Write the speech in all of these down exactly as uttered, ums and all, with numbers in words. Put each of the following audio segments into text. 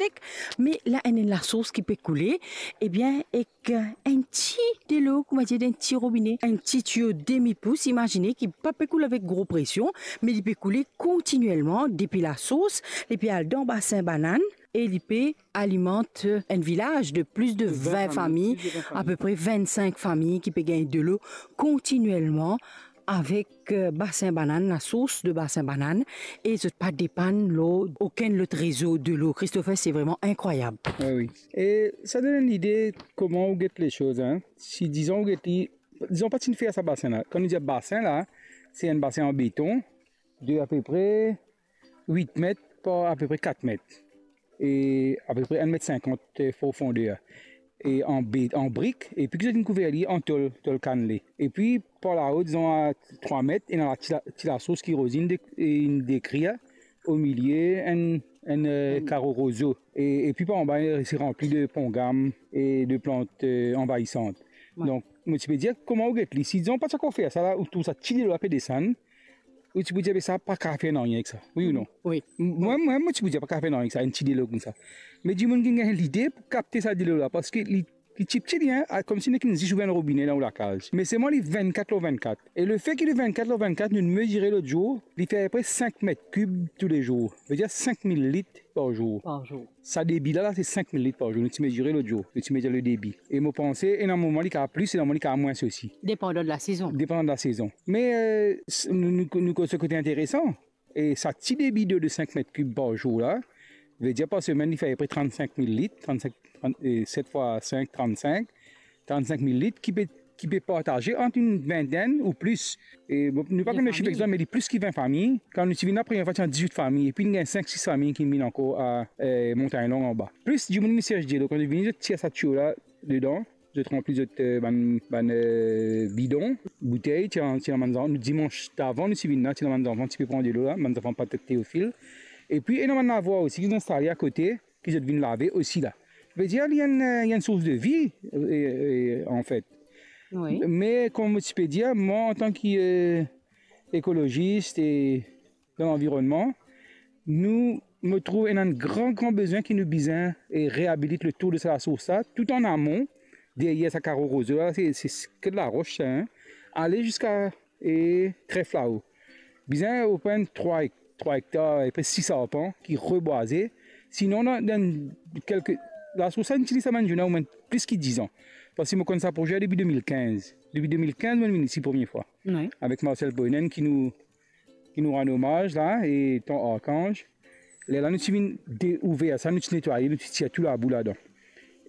tek, me la enn, enn lasours ki pe koule, ebien, ek enn ti delo, kouma dir, enn ti robine, enn ti tiyo demi pous, imazine, ki pa pe koul avek gro presion, me li pe koule kontinielman depi lasours, li pe al dan basin banann e li pe alimant enn vilaz de plis de vin fami, apepre vinn-sink fami ki pe gagn delo kontinielman avek, eh, basin banann, lasours de basin banann, e zot pa depann lor okenn lot rezo delo. Christopher, se vreman inkrwayab. Wi, wi. E sa donn enn lide kouma ou get lesoz, en. Si, dizon, ou get li, dizon, pa ti fer sa basin la. Kan nou dir basin la, se enn basin an beton de apepre wit met par apepre kat met, e apepre enn met sinkant, eh, profonder, e an be-, an brik, epi ki zot inn kouver li an tol, tol kannle. Epi par lao, dizon, a trwa met, ena la ti la-, ti lasours ki Rosine de-, inn dekrir, omilie enn, enn, eh, karo rozo. E, epi par anba, eh, se ranpli de pongam e de plant, eh, anvaisant. Wi. Donk, mo ti pe dir, kouma ou get li, si dizon pa ti ankor fer sa la, ou trouv sa ti delo la pe desann, ou ti pou dir, "Be sa pa kav fer nanye ek sa." Wi ou non? Wi. M-, mwa, mwa, mo ti pou dir, "Pa kav fer nanye ek sa, enn ti delo koumsa." Me dimoun ki gagn lide pou kapte sa delo la, parski li, li tipti li, en, a, koumsi nek enn zis ouvrir enn robine dan ou lakaz. Me selman li vinn-kat lor vinn-kat. E lefet ki li vinn-kat lor vinn-kat, nou mezire lot zour, li fer apepre sink met kib toulezour. Vedir sink mil lit par zour. Par zour. Sa debi la, la, se sink mil lit par zour. Nou ti mezire lot zour. Nou ti mezir le debi. E mo panse, ena moman li kav plis, ena moman li kav mwins osi. Depandan de lasezon. Depandan de lasezon. Me, eh, s-, nou, nou, nou koz se kote interesan. E sa ti debi delo de sink met kib par zour la, vedir par semenn, li fer apepre trannsink mil lit, trannsink, trant, eh, set fwa sink, trannsink, trannsink mil lit ki pe, ki pe partaze ant enn vintenn ou plis. E bon, nou pa konn le sif egzat, me li plis ki vin fami. Kan nou ti vinn la premie fwa, ti ena dizwit fami, epi nou gagn sink, sis fami ki vinn ankor a, eh, Montagne Longue anba. Plis dimoun vinn sers delo, kan zot vini, zot tir sa tiyo la dedan, zot ranpli zot, eh, bann, bann, eh, bidon, boutey, ti ena, ti ena bann zanfan, nou, dimans davan nou ti vinn la, ti ena bann zanfan ti pe pran delo la, bann zanfan Patrick Théophile. Epi ena bann lavwar osi ki instale akote, ki zot vinn lave osi la. Vedir, li enn, eh, li enn sours de vi, eh, eh, anfet. Wi. Me, kouma mo ti pe dir, mwa, antan ki, eh, ekolozis e dan lanvironnman, nou, mo trouv ena enn gran, gran bizin ki nou bizin, eh, reabilit letour de sa lasours la, tou an amon, deryer sa karo rozo la, se, se, se ke de laros sa, en, ale ziska, eh, tref lao. Bizin opran trwa ek-, trwa ektar, apepre sis arpan ki rebwaze. Sinon, dan, dan kelke, lasours la, nou itiliz sa bann zour la omwin plis ki dizan. Parski mo konn sa proze depi de mil kinz. Depi de mil kinz, mo vinn isi premie fwa. Wi. Avek Marcel Boynen ki nou, ki nou rann omaz la, e Ton Arkanz. Lerla nou ti vinn de-, ouver sa, nou ti netwaye, nou ti tir tou labou ladan.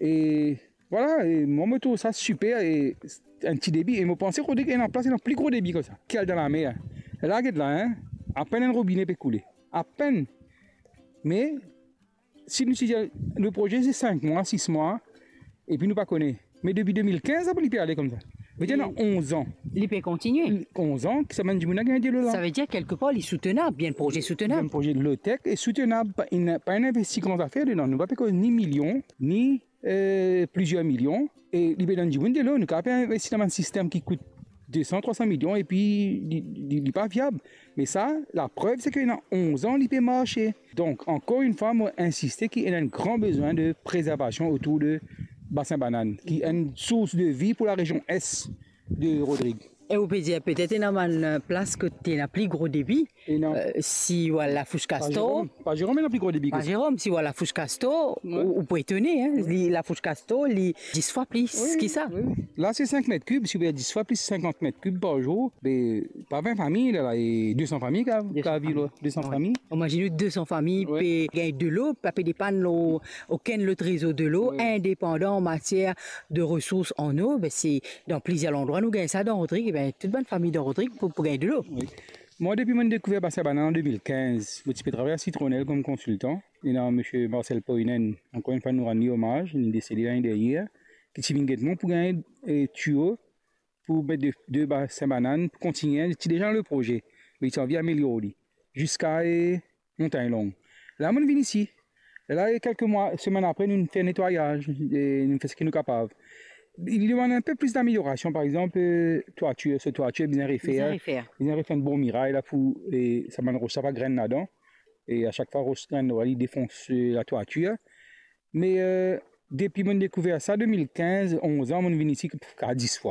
E vwala, e mwa, mo trouv sa siper, e enn ti debi, e mo panse Rodrig ena plas, ena pli gro debi koumsa, ki al dan lamer. La, get la, en, apenn enn robine pe koule. Apenn. Me, si nou ti dir, le proze se sink mwa, sis mwa, epi nou pa kone. Me depi de mil kinz, li pe ale koumsa. Vedir, ena onz an. Li pe kontinie. Onz an, ki sa bann dimoun la gagn delo la. Sa vedir, kelkepar, li soutenab, li enn proze soutenab. Enn proze low-tech e soutenab, pa, ena, pa ena investi gran zafer dedan. Nou pa pe koz ni milion, ni, eh, plizier milion. E li pe donn dimoun delo, nou kapav investi dan bann sistem ki kout de san, trwa san milion, epi li, li, li pa viab. Me sa, laprev, se ke ena onz an, li pe marse. Donk, ankor enn fwa, mo insiste ki ena enn gran bizin de prezervasion otour de basin banann, ki enn sours de vi pou larezion es de Rodrig. E ou pe dir, petet ena bann, eh, plas kot ena pli gro debi, ena, eh, si ou al Lafous Kastor. Pas Zerom, Pas Zerom ena pli gro debi. Pas Zerom, si ou al Lafous Kastor, wi, ou, ou pou etone, en. Wi. Li, Lafous Kastor, li dis fwa plis ki sa. Wi, wi. La, se sink met kib, si ou fer dis fwa plis sinkant met kib par zour, be, pa vin fami, la, la, e de san fami ki, ki viv la, de san fami. Imazinn ou de san fami pe gagn delo, pa pe depann lor okenn lot rezo delo, indepandan an matier de resours an o, be, se dan plizier landrwa nou gagn sa dan Rodrig, be, tou bann fami dan Rodrig pou, pou gagn delo. Wi. Mwa, depi mo dekouver Basin Banann an de mil kinz, mo ti pe travay a Citronelle kom konsiltan. Ena misie Marcel Poinen, ankor enn fwa nou rann li omaz, li desede lane deryer, ki ti vinn get mwa pou gagn, eh, tiyo pou met de, de basin banann pou kontinie, li ti deza dan le proze, me li ti anvi amelior li ziska, eh, Montagne Longue. La, mo vinn isi. La, e kelke mwa, semenn apre, nou fer netwayaz, e nou fer seki nou kapav. Li demann enn pe plis dameliorasion, par exanp, eh, twatir, so twatir bizin refer. Bizin refer. Bizin refer enn bon miray la pou, eh, sa bann ros la pa grenn ladan. E a sak fwa ros grenn, li defons, eh, latwatir. Me, euh, depi mo'nn dekouver sa, de mil kinz, onz an, mo'nn vinn isi ka dis fwa.